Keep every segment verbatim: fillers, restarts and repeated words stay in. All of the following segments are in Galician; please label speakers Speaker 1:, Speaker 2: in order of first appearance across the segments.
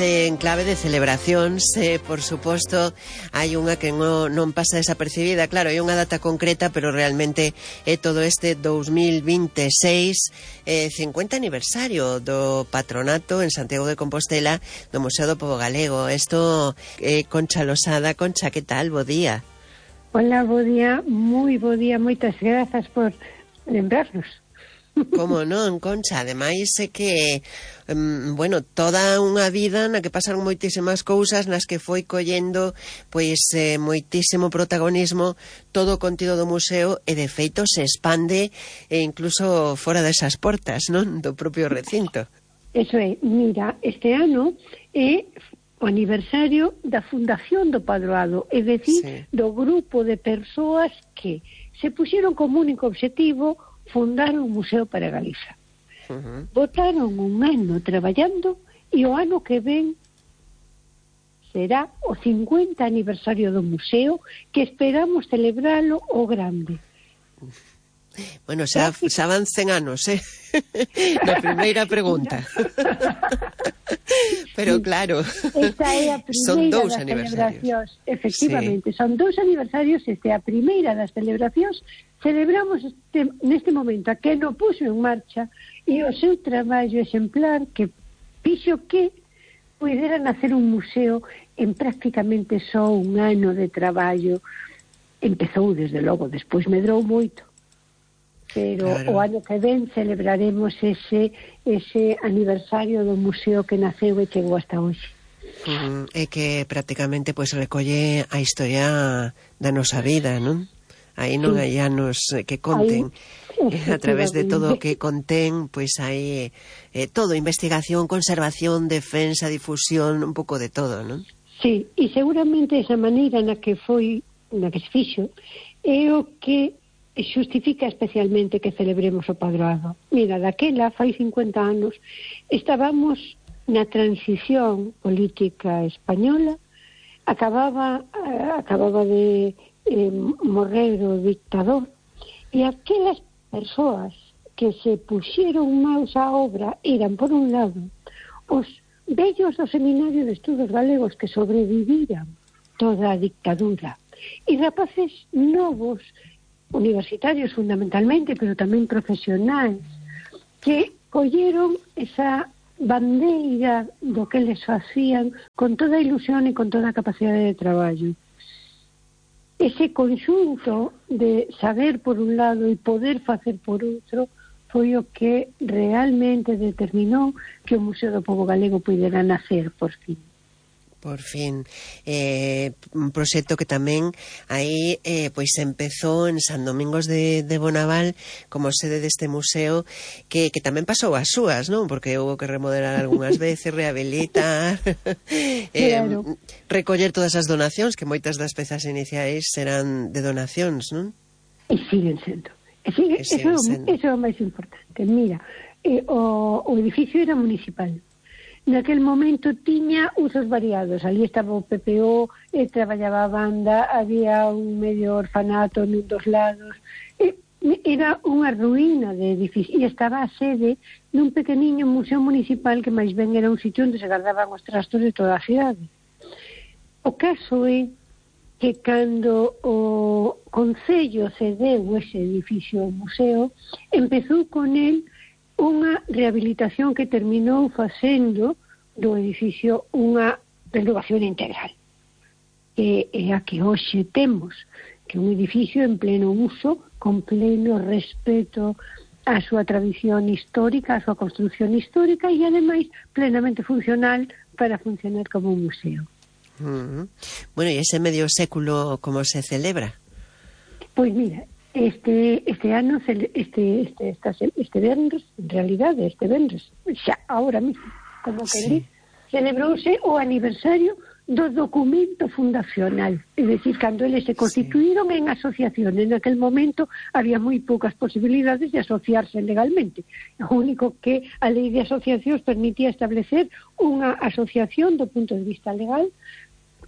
Speaker 1: En clave de celebracións, eh, por suposto, hai unha que non, non pasa desapercibida. Claro, hai unha data concreta, pero realmente é todo este dos mil vinte e seis, eh, cincuenta aniversario do patronato en Santiago de Compostela do Museo do Pobo Galego. Isto, eh, Concha Losada. Concha, que tal? Bo día.
Speaker 2: Hola, bo día, moi bo día, moitas grazas por lembrarnos.
Speaker 1: Como non, Concha? Ademais é que, um, bueno, toda unha vida na que pasaron moitísimas cousas, nas que foi collendo pois eh, moitísimo protagonismo todo o contido do museo, e de feito se expande e incluso fora desas portas, non? Do propio recinto.
Speaker 2: Eso é, mira, este ano é o aniversario da fundación do Padroado, é dicir, sí, do grupo de persoas que se puxeron como único obxectivo fundar un museo para Galiza. Uh-huh. Botaron un ano traballando e o ano que ven será o cincuenta aniversario do museo, que esperamos celebralo o grande.
Speaker 1: Bueno, xa, xa van cen anos, eh? Na primeira pregunta. Pero claro,
Speaker 2: esta é a
Speaker 1: son dous
Speaker 2: das
Speaker 1: aniversarios.
Speaker 2: Efectivamente, sí, son dous aniversarios. Este é a primeira das celebracións. Celebramos este, neste momento a que no puxo en marcha e o seu traballo exemplar que fixo que pudera nacer un museo en prácticamente só un ano de traballo. Empezou desde logo, despois medrou moito, pero claro, o ano que ven celebraremos ese ese aniversario do museo que naceu e chegou hasta hoxe.
Speaker 1: Uh, é que prácticamente pois recolle a historia da nosa vida, non? Aí non sí, hai anos que conten. Aí, a través de todo o que contén, pois hai eh, todo, investigación, conservación, defensa, difusión, un pouco de todo, non?
Speaker 2: Sí, e seguramente esa maneira na que foi, na que se fixo, é o que xustifica especialmente que celebremos o Padroado. Mira, daquela, fai cincuenta anos, estábamos na transición política española, acababa, acababa de eh, morrer o dictador, e aquelas persoas que se puxeron maus á obra eran, por un lado, os vellos do Seminario de Estudos Galegos que sobreviviran toda a dictadura, e rapaces novos, universitarios fundamentalmente, pero tamén profesionais, que colleron esa bandeira do que les facían con toda a ilusión e con toda a capacidade de traballo. Ese conxunto de saber por un lado e poder facer por outro foi o que realmente determinou que o Museo do Pobo Galego pudera nacer por fin.
Speaker 1: Por fin, eh, un proxecto que tamén aí eh, pois empezou en San Domingos de, de Bonaval como sede deste museo, que, que tamén pasou as súas, non? Porque houve que remodelar algunhas veces, rehabilitar, eh, claro, recoller todas as donacións, que moitas das pezas iniciais serán de donacións, non?
Speaker 2: E siguen sendo. E sigue, e siguen eso, sendo. Eso é o máis importante. Mira, eh, o, o edificio era municipal. Naquel momento tiña usos variados. Ali estaba o P P O, e traballaba a banda, había un medio orfanato nun dos lados, e era unha ruína de edificio, e estaba a sede nun pequeniño museo municipal que máis ben era un sitio onde se guardaban os trastos de toda a cidade. O caso é que cando o Concello cedeu ese edificio ao museo, empezou con el unha rehabilitación que terminou facendo do edificio unha renovación integral, que é a que hoxe temos, que é un edificio en pleno uso, con pleno respeto á súa tradición histórica, á súa construcción histórica, e ademais plenamente funcional para funcionar como un museo.
Speaker 1: Uh-huh. Bueno, e ese medio século como se celebra?
Speaker 2: Pois mira, Este este ano, este este este, este venres, en realidade, este venres, xa, ahora mismo, como que sí, di, celebrouse o aniversario do documento fundacional. É dicir, cando eles se constituíron, sí, en asociación, en aquel momento había moi poucas posibilidades de asociarse legalmente. O único que a lei de asociacións permitía establecer unha asociación do punto de vista legal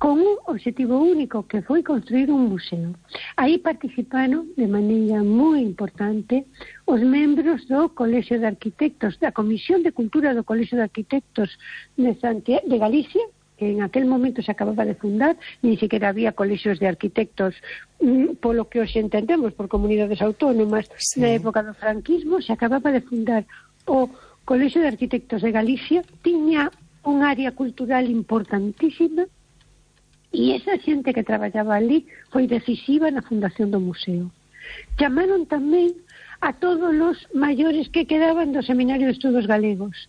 Speaker 2: con un objetivo único, que foi construir un museo. Aí participaron de maneira moi importante os membros do Colexio de Arquitectos, da Comisión de Cultura do Colexio de Arquitectos de, Santiago, de Galicia, que en aquel momento se acababa de fundar, ni siquiera había colexios de arquitectos mm, polo que hoxe entendemos, por comunidades autónomas. Sí. Na época do franquismo se acababa de fundar o Colexio de Arquitectos de Galicia, tiña un área cultural importantísima, e esa xente que traballaba ali foi decisiva na fundación do museo. Chamaron tamén a todos os maiores que quedaban do Seminario de Estudos Galegos.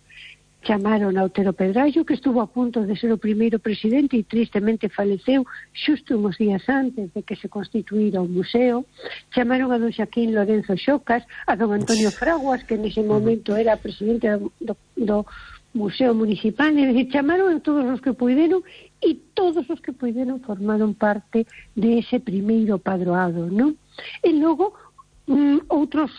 Speaker 2: Chamaron a Otero Pedrallo, que estuvo a punto de ser o primeiro presidente e tristemente faleceu xusto uns días antes de que se constituíra o museo. Chamaron a don Xaquín Lorenzo Xocas, a don Antonio Fraguas, que nese momento era presidente do, do Museo Municipal, é dicir, chamaron a todos os que puideron, e todos os que puideron formaron parte de ese primeiro padroado, non? E logo, mm, outros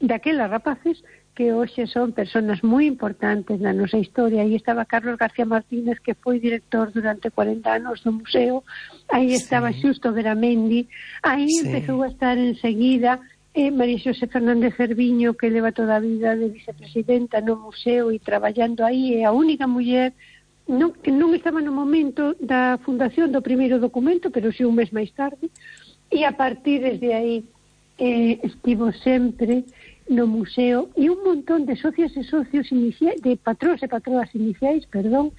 Speaker 2: daquelas rapaces que hoxe son persoas moi importantes na nosa historia. Aí estaba Carlos García Martínez, que foi director durante cuarenta anos do museo. Aí estaba sí. Xusto Veramendi. Aí sí. Empezou a estar enseguida eh, María Xosé Fernández Cerviño, que leva toda a vida de vicepresidenta no museo e traballando aí. É a única muller non, que non estaba no momento da fundación do primeiro documento, pero si un mes máis tarde. E a partir desde aí eh, estivo sempre no museo, e un montón de socias e socios iniciais, de patróns e patroas iniciais, perdón,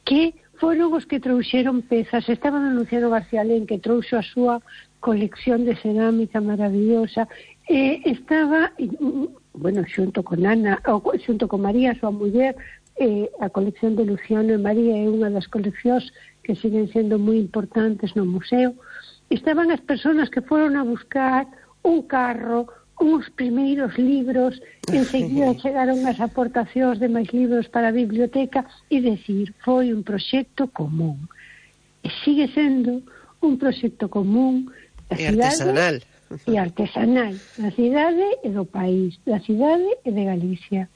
Speaker 2: que foron os que trouxeron pezas. Estaba Luciano García Lén, que trouxo a súa colección de cerámica maravillosa, e estaba, bueno, xunto con Ana, ou xunto con María, súa muller, eh, a colección de Luciano e María é unha das coleccións que siguen sendo moi importantes no museo. Estaban as persoas que foron a buscar un carro, uns primeiros libros, enseguida chegaron as aportacións de máis libros para a biblioteca, e decir, foi un proxecto común. E sigue sendo un proxecto común da
Speaker 1: e
Speaker 2: cidade
Speaker 1: artesanal.
Speaker 2: E artesanal, da cidade e do país, da cidade e de Galicia.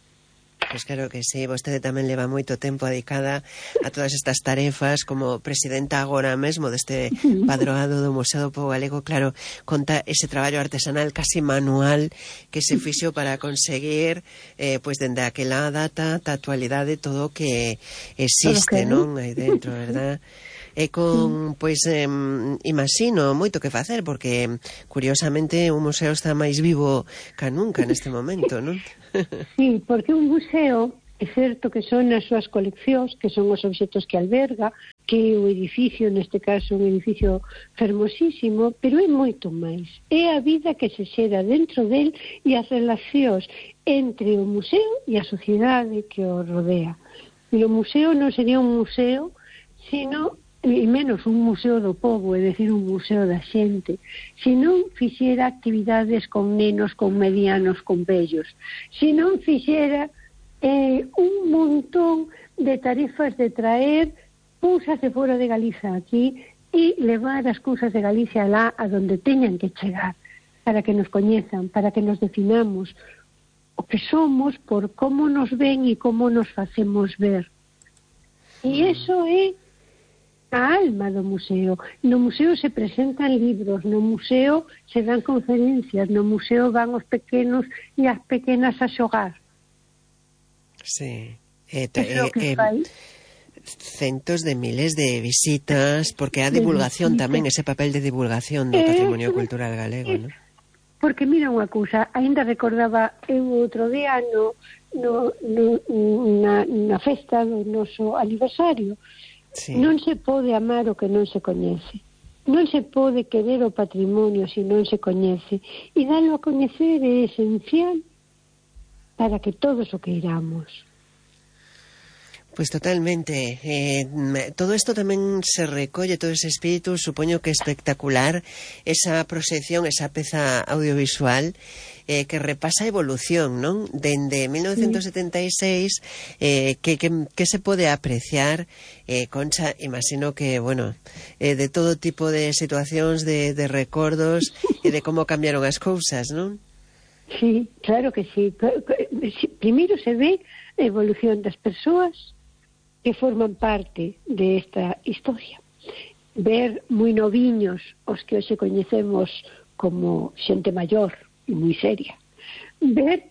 Speaker 1: Pois claro que sí, vostede tamén leva moito tempo dedicada a todas estas tarefas como presidenta agora mesmo deste padroado do Museo do Pobo Galego. Claro, conta ese traballo artesanal casi manual que se fixo para conseguir eh, pois dende aquela data da actualidade todo o que existe, non? Aí dentro, verdad? E con, pois, eh, imagino moito que facer, porque curiosamente o museo está máis vivo ca nunca neste momento, non?
Speaker 2: Sí, porque un museo é certo que son as súas coleccións, que son os obxectos que alberga, que o edificio, neste caso un edificio fermosísimo, pero é moito máis. É a vida que se xera dentro del e as relacións entre o museo e a sociedade que o rodea. E o museo non sería un museo, sino e menos un museo do povo, é dicir, un museo da xente, se non fixera actividades con nenos, con medianos, con vellos, se non fixera eh, un montón de tarefas de traer cousas de fora de Galiza aquí e levar as cousas de Galicia lá a donde teñan que chegar, para que nos coñezan, para que nos definamos o que somos por como nos ven e como nos facemos ver. E iso é a alma do museo. No museo se presentan libros, no museo se dan conferencias, no museo van os pequenos e as pequenas a xogar.
Speaker 1: Sí. Eh, eh, eh, centos de miles de visitas, porque a divulgación tamén, ese papel de divulgación do patrimonio cultural galego, non?
Speaker 2: Porque mira unha cousa, ainda recordaba eu outro día no, no, no, na, na festa do noso aniversario. Sí. Non se pode amar o que non se coñece. Non se pode querer o patrimonio se non se coñece. E dalo a coñecer é esencial para que todos o queiramos.
Speaker 1: Pois totalmente. Eh, todo isto tamén se recolle, todo ese espírito, supoño que espectacular, esa proxección, esa peza audiovisual eh, que repasa a evolución, non? Dende mil novecentos setenta e seis, eh, que, que, que se pode apreciar, eh, Concha, imagino que, bueno, eh, de todo tipo de situacións, de, de recordos, e de como cambiaron as cousas, non?
Speaker 2: Sí, claro que sí. Primeiro se ve a evolución das persoas que forman parte de esta historia. ver moi noviños os que hoxe coñecemos como xente maior e moi seria, ver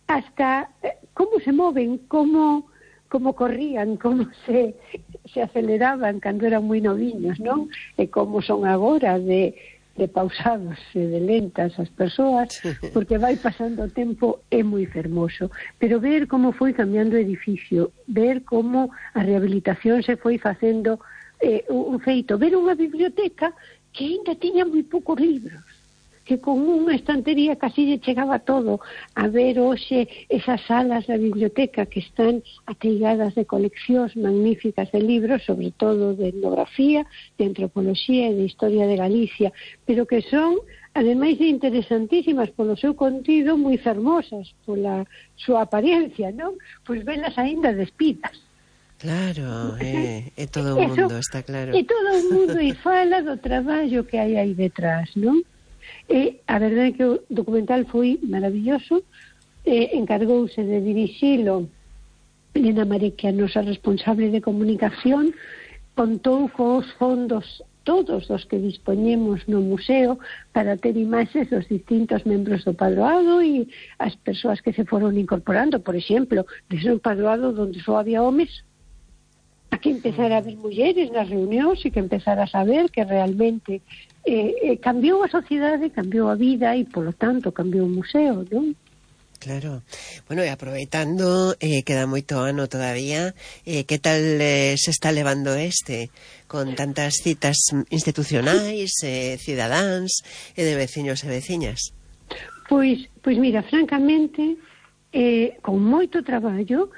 Speaker 2: hasta como se moven, como como corrían, como se, se aceleraban cando eran moi noviños, non? E como son agora de, de pausados e de lentas as persoas, porque vai pasando o tempo, é moi fermoso. Pero ver como foi cambiando o edificio, ver como a rehabilitación se foi facendo eh, un feito, ver unha biblioteca que ainda tiña moi poucos libros, que con unha estantería casi lle chegaba todo, a ver hoxe esas salas da biblioteca que están ateigadas de coleccións magníficas de libros, sobre todo de etnografía, de antropoloxía e de historia de Galicia, pero que son, ademais de interesantísimas polo seu contido, moi fermosas pola súa apariencia, non? Pois velas aínda despidas.
Speaker 1: Claro, é, é todo o mundo, está claro.
Speaker 2: É todo o mundo e fala do traballo que hai aí detrás, non? E a verdade é que o documental foi maravilloso, e encargouse de dirixilo Elena Mareque, a nosa responsable de comunicación, contou cos fondos todos os que dispoñemos no museo para ter imaxes dos distintos membros do padroado e as persoas que se foron incorporando. Por exemplo, desde un padroado onde só había homes, a que empezar a ver mulleres nas reunións e que empezar a saber que realmente eh, eh, cambiou a sociedade, cambiou a vida e, polo tanto, cambiou o museo, non?
Speaker 1: Claro. Bueno, e aproveitando, eh, queda moito ano todavía, eh, que tal eh, se está levando este, con tantas citas institucionais, eh, cidadáns e de veciños e veciñas?
Speaker 2: Pois, pois mira, francamente, eh, con moito traballo,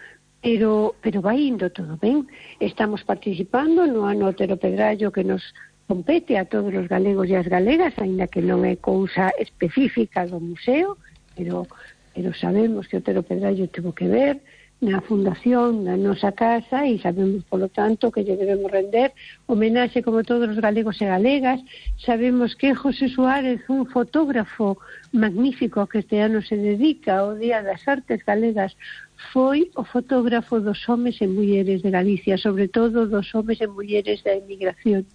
Speaker 2: pero, pero vai indo todo ben. Estamos participando no ano Otero Pedrallo que nos compete a todos os galegos e as galegas, aínda que non é cousa específica do museo, pero, pero sabemos que Otero Pedrallo tivo que ver na fundación da nosa casa e sabemos, polo tanto, que lle debemos render homenaxe como todos os galegos e galegas. Sabemos que José Suárez, un fotógrafo magnífico que este ano se dedica ao Día das Artes Galegas, foi o fotógrafo dos homes e mulleres de Galicia, sobre todo dos homes e mulleres da emigración.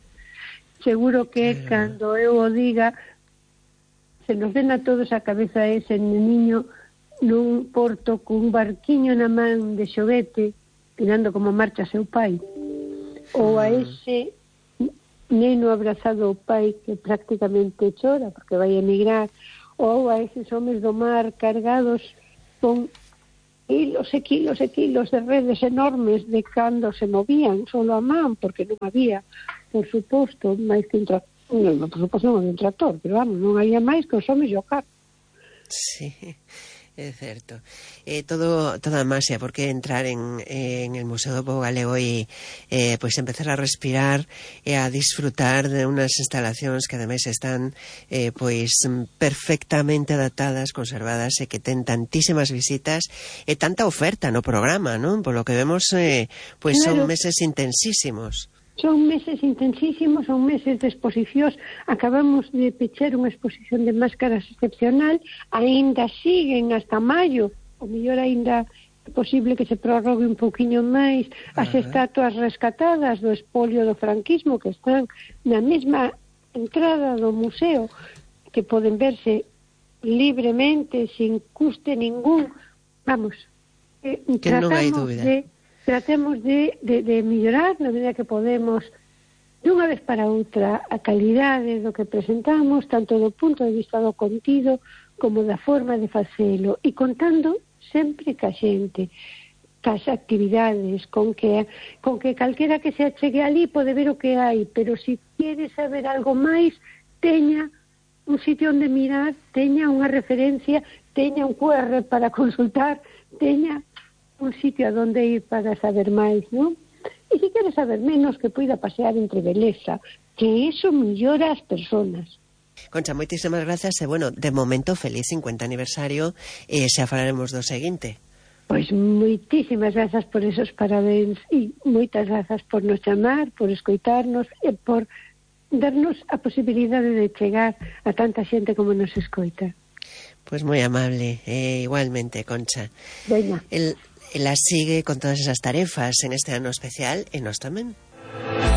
Speaker 2: Seguro que eh. cando eu o diga se nos den a todos a cabeza ese niño nun porto cun barquiño na man de xoguete mirando como marcha seu pai, ou a ese neno abrazado ao pai que prácticamente chora porque vai emigrar, ou a eses homes do mar cargados con kilos e kilos e kilos de redes enormes de cando se movían solo a man, porque non había, por suposto, máis que un tractor, non, por suposto non había un tractor, pero vamos, non había máis que os homes e o carro.
Speaker 1: Sí, é certo. Eh, todo, toda a máxia, porque entrar en, en el Museo do Pobo Galego e eh, pois empezar a respirar e a disfrutar de unas instalacións que ademais están eh, pois perfectamente adaptadas, conservadas e que ten tantísimas visitas e tanta oferta no programa, non? Por lo que vemos, eh, pois claro, son meses intensísimos.
Speaker 2: Son meses intensísimos, son meses de exposicións. Acabamos de pechar unha exposición de máscaras excepcional, aínda siguen hasta maio, o mellor aínda é posible que se prorrogue un pouquiño máis as estatuas rescatadas do espolio do franquismo que están na mesma entrada do museo, que poden verse libremente, sin custe ningún. Vamos, eh,
Speaker 1: que non hai dúbida.
Speaker 2: De tratemos de, de, de mellorar na medida que podemos dunha vez para outra a calidade do que presentamos, tanto do punto de vista do contido como da forma de facelo, e contando sempre ca xente, cas actividades, con que, con que calquera que se achegue ali pode ver o que hai, pero se quere saber algo máis, teña un sitio onde mirar, teña unha referencia, teña un cu erre para consultar, teña un sitio a donde ir para saber máis, non? E se quere saber menos, que poida pasear entre beleza, que eso mellora as personas.
Speaker 1: Concha, moitísimas grazas e, bueno, de momento, feliz cincuenta aniversario e xa falaremos do seguinte.
Speaker 2: Pois moitísimas grazas por esos parabéns e moitas grazas por nos chamar, por escoitarnos e por darnos a posibilidade de chegar a tanta xente como nos escoita.
Speaker 1: Pois moi amable, eh, igualmente, Concha.
Speaker 2: Veña.
Speaker 1: El... Ela sigue con todas esas tarefas en este ano especial e nós tamén.